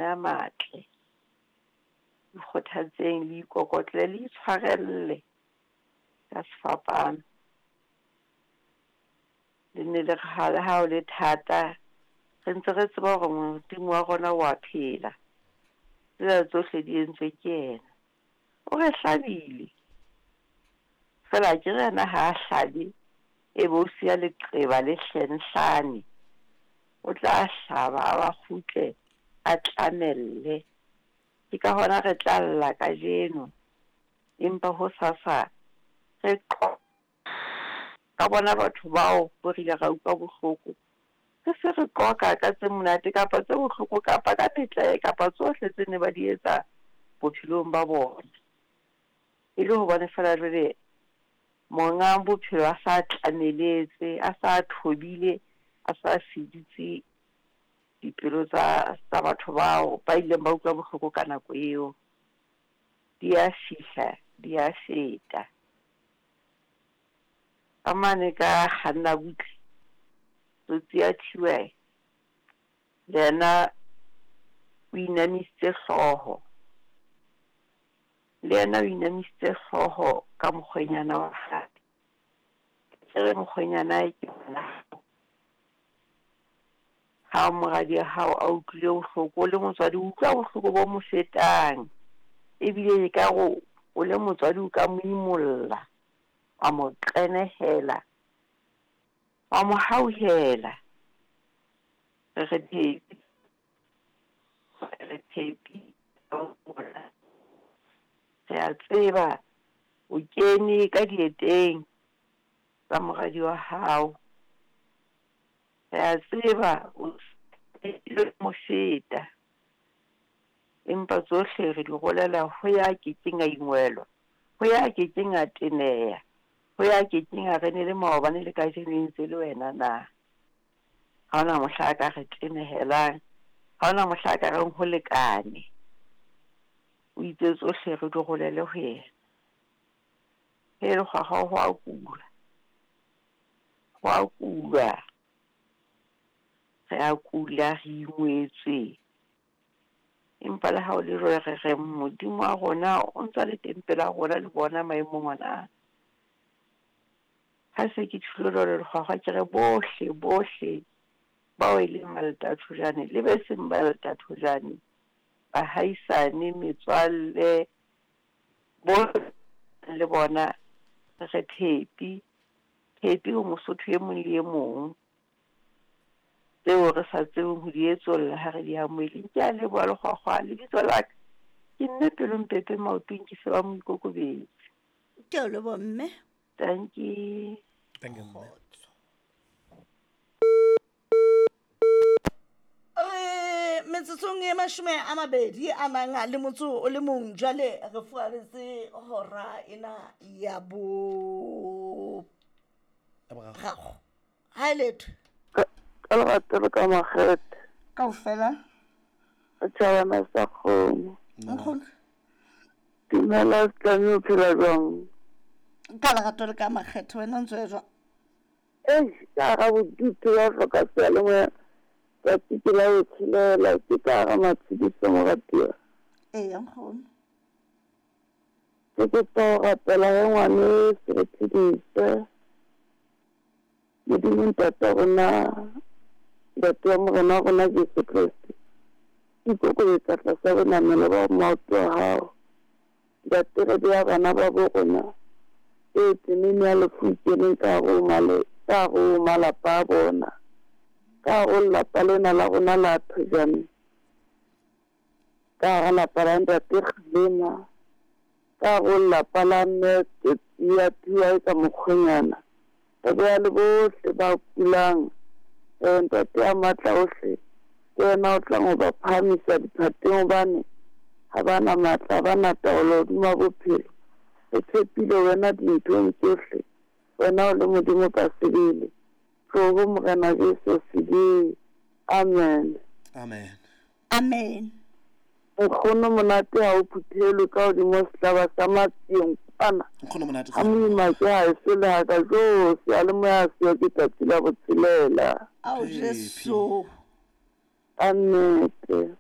A matle. Ikgothatseng, le ikokotle, le itshwarelle ka sefapano. Le nne le re ha le ha ho le thata, re ntse re tseba hore Modimo wa rona wa phela. Tsena tsohle di entswe ke yena. O re hlabile, feela akere yena ha a hlabe e be o siya leqeba le hlenhlane. O tla hlaba a ba kgutle a tlamelle. Ke ka hona re tla lla kajeno, empa hosasa re qo ka bona batho bao bo re ile ra utlwa bohloko. Re se re qoqa ka tse monate kapa tse bohloko kapa ka metlae kapa tsohle tse ne ba di etsa bophelong ba bona. E le hobane feela jwale monga bophelo a sa tlameletse, a sa thobile, a sa feditse dipelo tsa tsa batho bao ba ileng ba utlwa bohloko ka nako eo. Di a fihla, di a feta. Ka mane ka kganna butle, tsotsi ya Thiwe le yena o inamisitse hlooho. Le yena o inamisitse hlooho ka mokgwenyana wa hae. Ke re mokgwenyanae ke ngwana hao. Ha moradi wa hao a utlwile bohloko, o le motswadi o utlwa bohloko bo mo fetang. Ebile ekare o le motswadi o ka mo imolla, wa mo qenehela, wa mo hauhela. Re re Phepi, re Phepi rona. Re a tseba o kene ka dieteng tsa moradi wa hao. Re a tseba o mo feta. Empa tsohle re di rolela ho ya kekeng a ingwelwa, ho ya kekeng a teneha, ho ya kekeng a re ne le maobane le kajeno e ntse le wena na. Ha hona mohla a ka re tenehelang, ha hona mohla a ka reng ho lekane. O itse tsohle re di rolele ho yena. He lekgwakgwa ho a kulwa, ho a kulwa. Re a kula, re ingwetswe. Empa le ha ho le jwalo re re Modimo wa rona o ntsa le teng pela rona le bona maemong ona a. Ha se ke tjholo jwalo lekgwakgwa ke re bohle bohle bao e leng Maltathojane le be seng Maltathojane, bahaisane, metswalle, bohle le bona re re Phepi, Phepi ho Mosotho e mong le e mong. Tseo re sa tsebeng ho di etsolla ha re di amohele. Ke a leboha lekgwakgwa, lebitso la ka ke mme Pelompepe maotong ke se ba moikokobetsi. Ke a o leboha mme. Dankie. Thank you, mme. Kgotso. Re metsotsong e mashome a mabedi a nang le motso o le mong jwale re fuaretse hora ena ya bo gago ha e letho Ka lerato le ka makgethe. Kaofela. Setjhabana sa kgomo. Nkgono. Dumela Setlami o phela jwang? Ka lerato le ka makgethe wena o ntse o ya jwang? Eish, ka hara bodutu ba hloka seyalemoya tsatsi ke la botshelela ke ka hara matshediso moratuwa. Eya nkgono. Ke kopa ho rapela he ngwaneso re phedise. Modimo Ntate wa rona, Ntate wa Morena wa rona Jesu Kreste, ke ikokobetsa tlasa bonamelo ba maoto a hao. Ntate, re bea bana ba bo rona e tseneng ya lefu e keneng ka hare ho male, ka hare ho malapa a bona, ka hare ho lelapa lena la rona la Thojane, ka hara lapa la Ntate Kgalema, ka hare ho lelapa la Mme Tsia Tia e ka mokgwenyana. Re beha le bohle ba kulang. Ee, Ntate ya Matla ohle, ke wena o tlang ho ba phahamisa diphateng, hobane ha ba na matla, ha ba na taolo hodima bophelo. Re tshepile wena dinthong tsohle, wena o le Modimo ka sebele. Tloho, Morena Jesu, sebeng. Amen. Amen. Amen. Nkgono monate ha o phuthelwe ka hodimo sehlaba sa matsieng kwana. Nkgono monate. Ha moima ke ha eso le haka jo seyalemoya ha seyo ke tsatsi la botshelela. Ao Phephi. Jesu. Ka nnete.